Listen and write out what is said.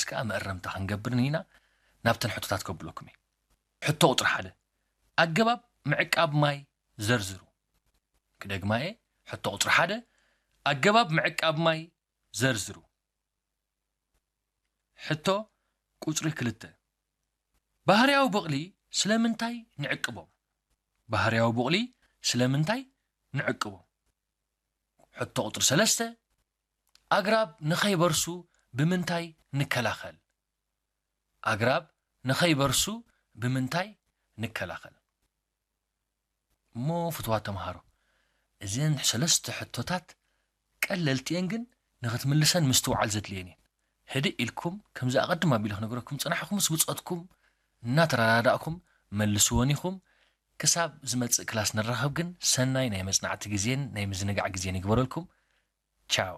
ከኣ መእረምታ ክንገብርን ኢና። ናብተን ሕቶታት ከብለኩም እየ። ሕቶ ቁፅሪ ሓደ፣ ኣገባብ ምዕቃብ ማይ ዘርዝሩ። ክደግማ እየ። ሕቶ ቁፅሪ ሓደ፣ ኣገባብ ምዕቃብ ማይ ዘርዝሩ። ሕቶ ቁፅሪ ክልተ፣ ባህርያዊ ቦቕሊ ስለምንታይ ንዕቅቦም? ባህርያዊ ቦቕሊ ስለምንታይ ንዕቅቦም? ሕቶ ቁፅሪ ሰለስተ፣ ኣግራብ ንኸይበርሱ ብምንታይ ንከላኸል? ኣግራብ ንኸይበርሱ ብምንታይ ንከላኸል? እሞ ፍትዋት ተምሃሮ፣ እዘን ሰለስተ ሕቶታት ቀለልቲ እየን፣ ግን ንኽትምልሰን ምስትውዓል ዘድልየን እየን። ህድእ ኢልኩም፣ ከምዚ ኣቐድም ኣቢለ ክነግረኩም ዝጸናሕኩምስ ብጾትኩም እናተረዳዳእኩም መልስወን ኢኹም። ክሳብ ዝመጽእ ክላስ ንራኸብ ግን፣ ሰናይ ናይ መጽናዕቲ ግዜን ናይ ምዝንጋዕ ግዜን ይግበረልኩም። ቻው።